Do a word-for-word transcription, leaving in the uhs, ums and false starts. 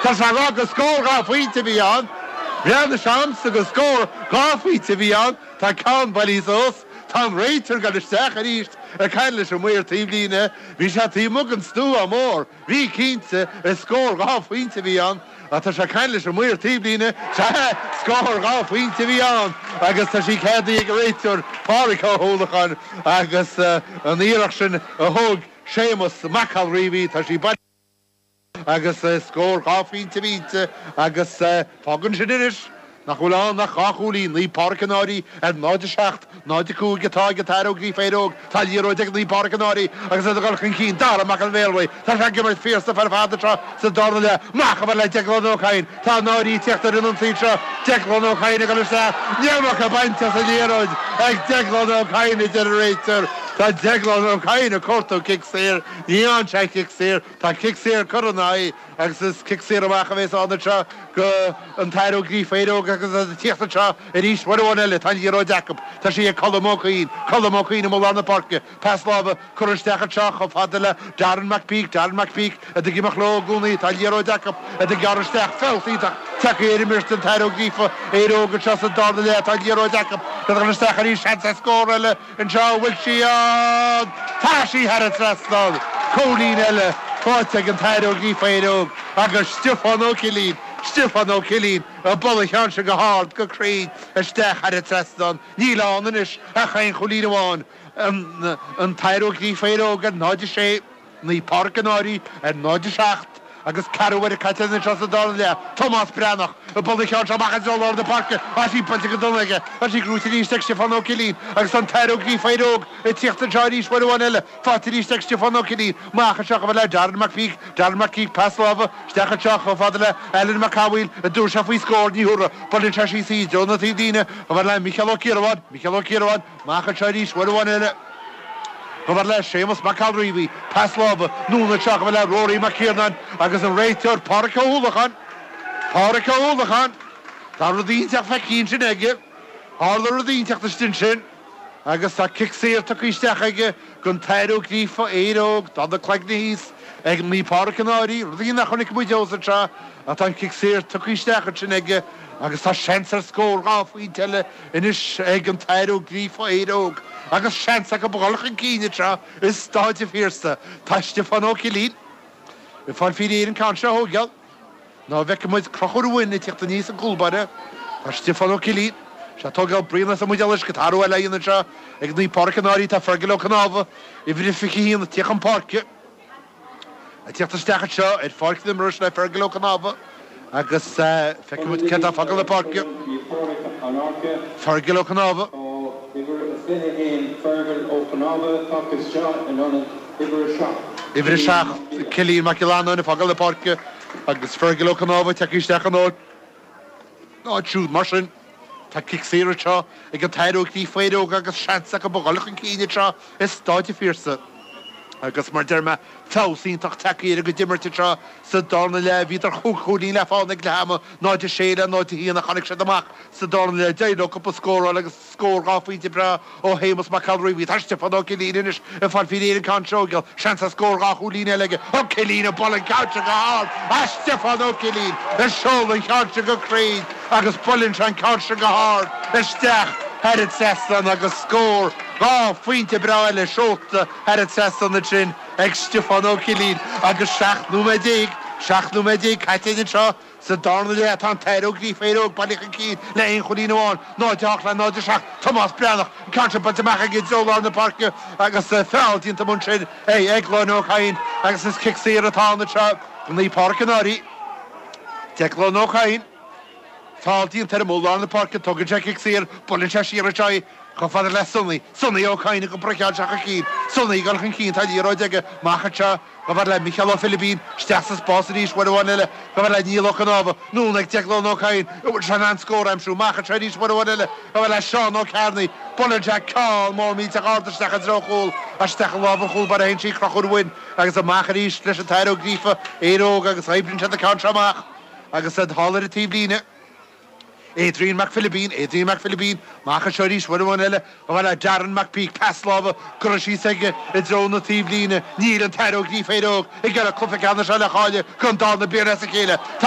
Tá sé ag rá gur scór dhá phointe a bhí ann. Bhreathnaigh sé ormsa gur scór dhá phointe a bhí ann. Tá ceann bailithe suas. Tá an réiteoir ag dul isteach arís ag caint leis an maor taobhlíne. Bhí sé taobh amuigh den stua mór. Bhí, cinnte, is scór dhá phointe a bhí ann. Ach tá sé ag caint leis an maor taobhlíne. Sea, scór dhá phointe a bhí ann agus tá sí ceadaithe ag an réiteoir Pádhraic Ó hUallacháin agus an iarracht sin a thóg Séamus Mac Colreavy, tá sí bailithe. Agus scór dhá phointe a bhí inti agus fágann sin anois nach bhfuil ann ach dhá chúilín, Naomh Pádraig an Fhairche ar náid a seacht, náid a cúig atá ag an tAthair Ó Gríofa Éire Óg. Tá liathróid ag Naomh Pádraig an Fhairche agus iad ag dul chun cinn. Dara Mac an Bhéarlaí, tá sé ag imirt fíorstaif ar fad anseo sa darna leath. Amach chomh fada le Declan Ó Cadhain. Tá an Fhairche ag tíocht ar an ionsaí seo. Declan Ó Cadhain ag dul isteach. An iomarca bainte as an liathróid ag Declan Ó Cadhain, a deir an réiteoir. Tá Declan Ó Cadhain ag cuartú cic saor. Ní fhaigheann sé cic saor. Tá cic saor curtha ina aghaidh agus is cic saor amach a bhéas ann anseo go an tAthair Ó Gríofa Éire Óg agus iad ag tíocht anseo arís uair amháin eile. Tá an liathróid acu. Tá sí ag Colm Ó Cuinn. Colm Ó Cuinn amuigh lár na páirce. Pas láimhe curtha isteach anseo chomh fada le Darren McPeak. Darren McPeak iad ag imeacht leo i gcónaí. Tá an liathróid acu. Iad ag gearradh isteach. Feabhas iontach tagtha ar imirt an tAthair Ó Gríofa Éire Óg anseo sa darna leath. Tá an liathróid acu. Iad ag dul isteach arís. Seans ar scór eile anseo. An bhfuil sí ann? Tá sí thar an trasnán! Cúilín eile faighte ag an tAthair Ó Gríofa Éire Óg agus Stiofán Ó Cillín, Stiofán Ó Cillín ag bualadh an cheann sin go hard, go cruinn, isteach thar an trasnán. Níl ann anois ach aon chúilín amháin. An tAthair Ó Gríofa Éire Óg ar náid a sé, Naomh Pádraig an Fhairche ar náid a seacht agus ceathrú uaire caite anseo sa dara leath. Tomás Breathnach ag bualadh an cheann seo amach i dtreo lár na páirce. Tá sí buailte go dona aige. Tá sí gnóite arís ag Stiofán Ó Cillín agus an tAthair Ó Gríofa Éire Óg ag tíocht anseo arís uair amháin eile. Faighte arís ag Stiofán Ó Cillín. Amach anseo chomh fada le Darren McPeak. Darren McPeak, pas láimhe isteach anseo chomh fada le Alan Mac Cathmhaoil. An dtabharfaidh sé faoi scór? Ní thabharfaidh. Buaileann sé síos í i dtreo na taobhlíne chomh fada le Micheál Ó Ciarabháin. Micheál Ó Ciarabháin. Amach anseo arís uair amháin eile. Chomh fada le Séamus Mac Colreavy, pas láimhe, anonn anseo chomh fada le Rory Mac Ciarnáin agus an réiteoir Pádhraic Ó hUallacháin. Pádhraic Ó hUallacháin! Tá rud ínteacht feicthe ansin aige. Tharla rud ínteacht istigh ansin agus tá cic saor tugtha isteach aige don tAthair Ó Gríofa, Éire Óg, tá na cloigne thíos ag Naomh Pádraig an Fhairche, rudaí nach chonaic muid abhus anseo ach tá an cic saor tugtha isteach ansin aige agus tá seans ar scór dhá phointe eile anois ag an tAthair Ó Gríofa, Éire Óg, agus seans acu a dhul chun cinn anseo i Stáid an Phiarsaigh. Tá Stiofán Ó Cillín ag fáil faoi réir an ceann seo a thógáil. Ná bhfeicfidh muid Conchúr Ó Bhroin ag tíocht aníos an cúl báire. Tá Stiofán Ó Cillín, sé ag tógáil braon as an mbuidéal uisce. Tá athrú eile á dhéanamh anseo ag Naomh Pádraig an Fhairche. Tá Fergal Ó Cnámha, uimhir a fiche a haon, ag tíocht chun páirce. Ag tíocht isteach anseo ar pháirc na himeartha le Fergal Ó Cnámha agus feicfidh muid cé atá ag fágáil na páirce. Fergal Ó Cnámha. Uimhir a seacht, Cillian Mac Giollarnáin ag fágáil na páirce agus Fergal Ó Cnámha tagtha isteach ina áit siúd. Mar sin, tá cic saor anseo ag an tAthair Ó Gríofa Éire Óg agus seans acu a dhul chun cinn anseo i Stáid an Phiarsaigh. Agus mar deir mé, feabhas iontach tagtha ar a gcuid imirt anseo sa darna leath. Bhíodar chúig chúilín le fána ag leath ama, náid a sé le náid a haon ach tháinig siad amach sa darna leath. D'éirigh leo cúpla scór a fháil agus scór dhá phointe breá ó Shéamus Mac Colreavy. Tá Stiofán Ó Cillín anois ag fáil faoi réir an ceann seo a thógáil. Seans ar scór dhá chúilín eile aige. Ó Cillín ag bualadh an ceann seo go hard. Ah Stiofán Ó Cillín ag seoladh an cheann seo go cruinn agus buaileann sé an ceann seo go hard isteach thar an trasnán agus scór dhá phointe breá eile seolta thar an trasnán ansin ag Stiofán Ó Cillín agus seacht nóiméad déag, seacht nóiméad déag caite anseo sa darna leath. Tá an tAthair Ó Gríofa Éire Óg bailithe chun cinn le aon chúilín amháin, náid a hocht le náid a seacht. Tomás Breathnach, an ceann seo buailte amach aige i dtreo lár na páirce agus feall déanta ansin ag Declan Ó Cadhain agus is cic saor atá ann anseo do Naomh Pádraig an Fhairche. Declan Ó Cadhain. Feall déanta air amuigh i lár na páirce, tógann sé cic saor, buaileann sé siar anseo í chomh fada le Sonny. Sonny Ó Cadhain ag iompar an cheann seo chun cinn. Sonny ag dul chun cinn, tá liathróid aige amach anseo chomh fada le Micheál Ó Philibín, isteach sa spás arís uair amháin eile chomh fada le Niall Ó Cnámha, anonn ag Declan Ó Cadhain, an bhfuil sé in ann scór a aimsiú, amach anseo arís uair amháin eile chomh fada le Seán Ó Cearnaigh, buaileann sé ceann mór millteach ard isteach i dtreo an chúil, isteach i lámh an chúl báire a théann sí, Conchúr Ó Bhroin agus amach arís leis an tAthair Ó Gríofa, Éire Óg agus oibríonn siad an ceann seo amach. Agus iad thall ar an taobhlíne, Adrian Mac Philibín, Adrian Mac Philibín, amach anseo arís uair amháin eile, chomh fada le Darren McPeak, pas láimhe curtha síos aige i dtreo na taobhlíne. Níl an tAthair Ó Gríofa Éire Óg ag iarraidh cluiche ceannais eile a chailleadh don darna bliain as a chéile. Tá.